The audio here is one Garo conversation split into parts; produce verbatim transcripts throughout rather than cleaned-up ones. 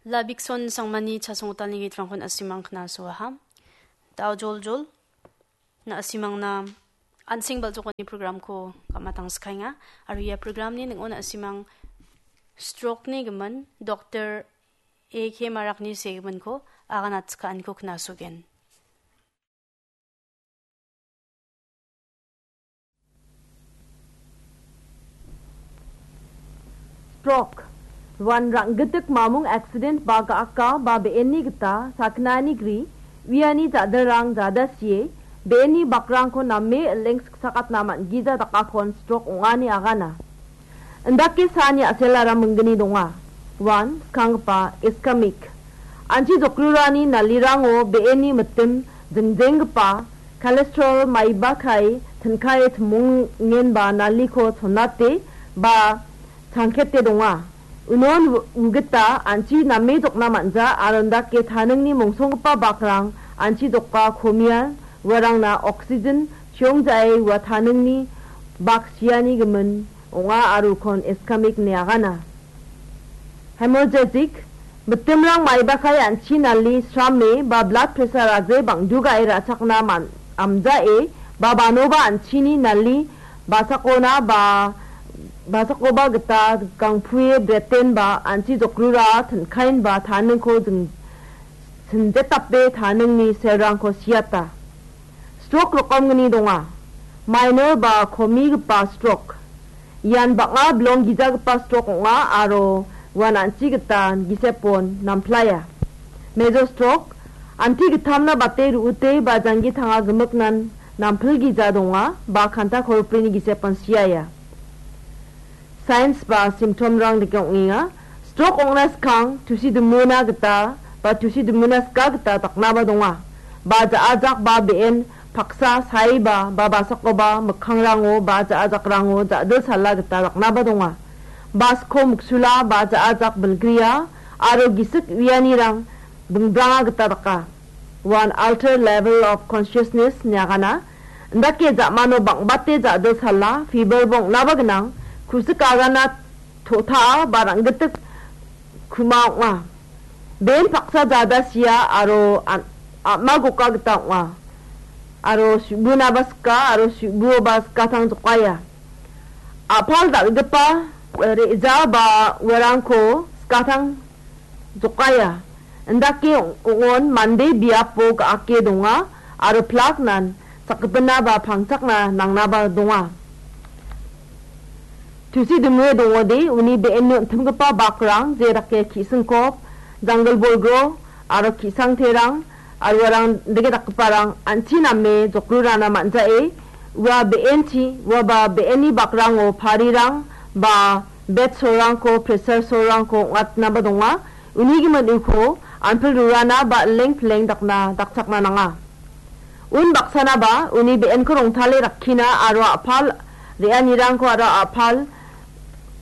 Labikson Sangmani chasonggitalni gitrangkon asimang knasoaha. Dao joljol, na asimangna an·seng bal·jokani programko gam·atangskaenga. Aro ia programni ning·o na asimang stroke-ni gimin Doktor A K Marakni segiminko aganatskaaniko knasogen. Stroke, ruan rang·gitik mamung accident ba ga·aka ba be·enni gita sakgnani gri, uiani ja·dilrang jadasie, be·enni bakrangko name ileng siksakatna man·gija dakakon stroke ong·ani agana. Indake saani a·selara minggni donga. Uan skanggipa iskemik. An·chi jokrurani nalirango be·enni mitim jingjenggipa cholesterol maiba kae tinkae timongenba naliko chonate ba changkete donga. Unon u-, ugita an·chi name jokna man·ja aro indake taningni mongsonggipa bakrang an·chi joka komian uarangna oxygen chiongjae ua taningni bak siani gimin ong·a aro ukon iskemik ine agana. Hemorrhagic, mitimrang maibakai an·chi nali srame ba blood pressure-aje bang·dugae ra·chakna man-, amjae ba banoba an·chini nali basakona ba basakoba gita gangpue bretenba an·chi jokrura tinkaenba taningko jing-, sinjetape taningni selrangko siata. Stroke rokomgni donga. Minor ba komigipa stroke. Ian bang·a bilong gijagipa stroke ong·a aro uan an·chi gita gisepon namplaia. Major stroke, anti gittamna bate ru·ute ba janggi tanga gimiknan nampilgija donga ba kanta koroprini gisepon siaia. Signs ba symptomrang dake ong·enga. Stroke ong·na skang tusi dimuna gita ba tusi dimuna ska gita daknaba donga. Ba ja·ajak ba be·en paksa saiba ba basakoba mikkangrango ba ja·ajakrango ja·dilsala gita daknaba donga. Ba sko miksula ba ja·ajak bilgria aro gisik uianirang bingbranga gita daka. Uan altered level of consciousness ine agana. Indake ja·mano bang·bate ja·dilsala, fever-ba ong·naba gnang, ku·sik agana to·ta·a ba rang·gitik ku·ma ong·a. Ben paksa jada sia aro an-, a·ma goka gita ong·a. Aro su·bunaba sika aro su·buoba skatang jokaia. A·pal dal·gipa re·ja ba uarangko skatang jokaia. Indake ong-, ong·on mande biapo ga·ake donga aro plaknan sakgipina ba pangchakna nangnaba donga. Tusi dimue dongode uni be·enni on·timgipa bakrang, je dake ki·singkop, janggil bolgro aro ki·sangterang aro uarang dake dakgiparang an·chi name jokrurana man·jae, ua be·enchi, uaba be·enni bakrango parirang ba bed sorrangko, pressure sorrangko ong·atnaba donga. Uni gimin uko anpil rurana ba ileng pileng dakna dakchakna nanga. Un baksanaba uni be·enko rongtale rakkina aro a·pal re·anirangko aro a·pal,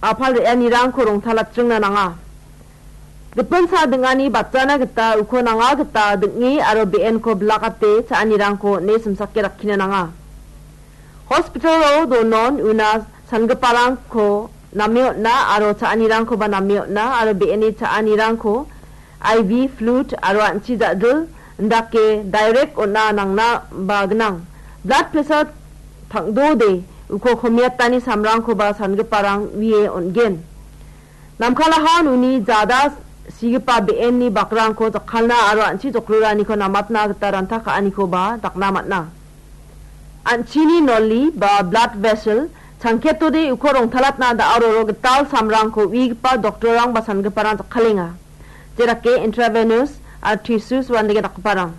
a·pal re·anirangko rongtalatringna nanga. Gipin sa ding·ani batjana gita uko nanga gita ding·e aro be·enko bilakate cha·anirangko on·e simsake rakkina nanga. Hospital-o donon una sangiparangko name on·a aro cha·anirangkoba name on·a aro be·eni cha·anirangko I V fluid aro an·chi ja·dil indake direct on·a nangna ba gnang. Blood pressure tang·dode uko komiatani samrangkoba sangiparang wie on·gen. Namkalahan uni jada sigipa be·enni bakrangko jakkalna aro an·chi jokroraniko namatna gita ranta ka·anikoba dakna man·a. An·chini noli ba blood vessel changketode uko rongtalatna da·aroro gital samrangko uigipa doktorrang ba sangiparang jakkalenga. Jedake intravenous aro tissues uandake dakgiparang.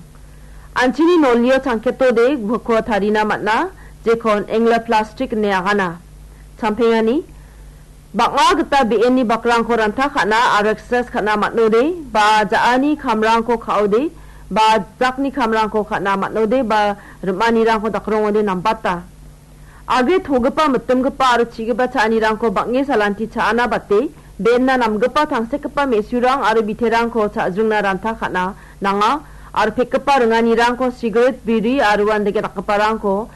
An·chini nolio changketode uko tarina man·a, jekon angioplasty ine agana. Champengani, bang·a gita be·enni bakrangko ranta ka·na aro exercise ka·na man·ode, ba ja·ani kamrangko ka·ode, ba jakni kamrangko ka·na man·ode, ba rim·anirangko dakrongode nambata. Agre togipa, mitimgipa aro chigipa cha·anirangko bang·e salanti cha·ana bate, be·enna namgipa tangsekgipa me·surang aro biterangko cha·jringna ranta ka·na nanga, aro pekgipa ringanirangko sigaret, biri aro uandake dakgiparangko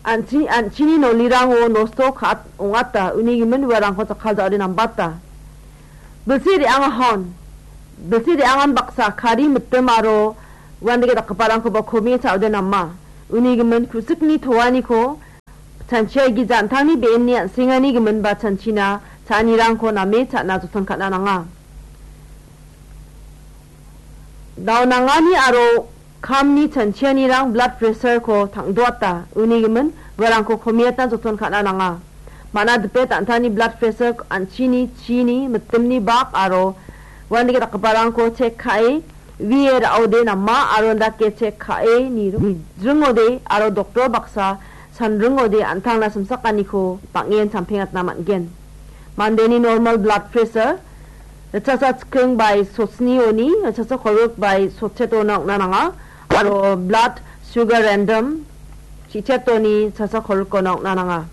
an·chi-, an·chini nolirango nosto ka-, ong·ata, uni gimin uarangko jakkalja·ode nambata. Bilsi re·angahon, Bilsi re·angan baksa kari mitim aro uandake dakgiparangkoba komie cha·ode nama. Uni gimin ku·sikni toaniko chanchiaigija an·tangni be·enni an·sengani giminba chanchina cha·anirangko name cha·na joton ka·na nanga. Daonangani aro kamni chanchianirang blood pressure-ko tang·doata. Uni gimin uarangko komiatna joton ka·na nanga. Mana dipet an·tangni blood pressure an·chini, chini, mitimni bak aro uandake dakgiparangko chek ka·e, wie ra·ode nama aro andake chek ka·e nir-, nijringode aro doktor baksa sanringode an·tangna simsakaniko bang·en sampengatna man·gen. Mandeni normal blood pressure ritchasa chiking bai sotnioni, ritchasa kolgrik bai sotchetona ong·na nanga, aro blood sugar random chi·chetoni ritchasa kolgrikona ong·na nanga.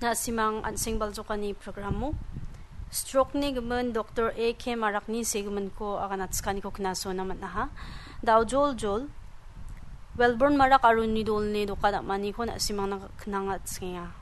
Na·simang an·seng baljokani programo stroke-ni gimin doktor A K Marakni segiminko aganatikaniko knasona man·aha. Daojoljol, Welborn Marak aro uni dolni doka dam·aniko na·simangna knanga chikenga.